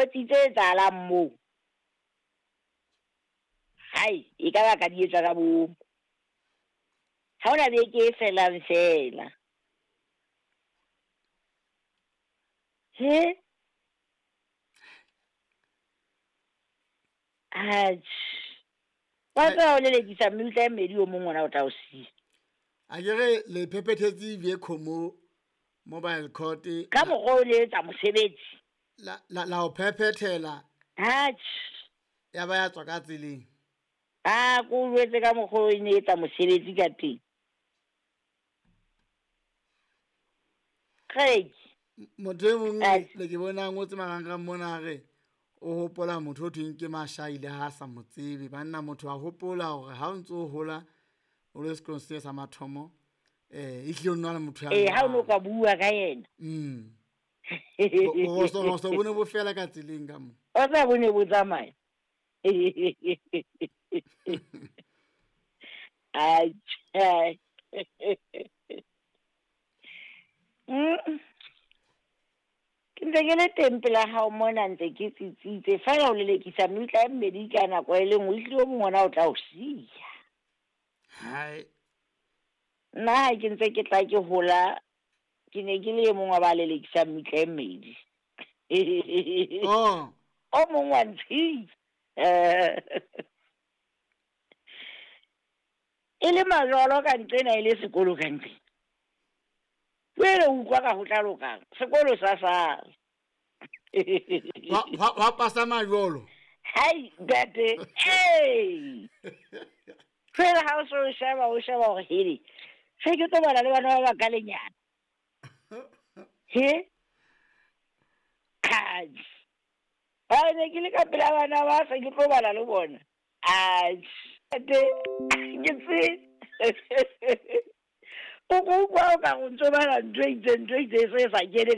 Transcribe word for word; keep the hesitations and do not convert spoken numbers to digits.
Mokgotsi tse etsahalang moo. Hai, e ka ba ka di etsa ka bomo. Ha hona beke e felang fela. He? Atjhe. Wa tseba o lelekisa mmutla e mmedi o mong ona o tla o siya. A ke re le phephethetse Viacom mobile court. Ka mokgwa o le etsa mosebetsi. La la la o phephethela. Atjhe. Ya ba ya tswa ka tseleng. A ko jwetse ka mokgwa o ne etsa mosebetsi ka teng. Craig. Motho e mong le ke bona ngotse marangrang mona re o hopola motho o thweng ke Mashaile ha sa mo tsebe. Banna motho a hopola hore ha o ntso o hola o le sekolong se sa mathomo eh e hlile o nna le motho ya Eh ha o no ka bua ka yena. Mm. Bo so so bone bo fela ka tseleng ka mo. O tla bone bo tsamaya. Ai. Mm. Ke ntse ke le teng pela hao mona ntse ke tsitsitse fela o lelekisa mmutla e mmedi ka nako e le nngwe ehlile o mong ona o tla o siya. Hai. Nna ha ke ntse ke tla ke hola ke ne ke le e mong wa ba lelekisa mmutla e mmedi. Oh. O mong wa ntshitse. E le majolo ka nqena e le sekolo ka nqena. Wele utlwa ka ho tla lokang sekolo sa sala. Wa wa pasa majolo. Hai ntate. Hey. Fela ha o so sheba o sheba hore hele. Se ke tlo bala le bana ba ba ka lenyana. He? Ai. Ba ne ke le ka pela bana ba se ke tlo bala le bona. Ai. Ntate ke tse. O go kwa o ka go ntso bala ntho e itseng ntho e itseng se sa kene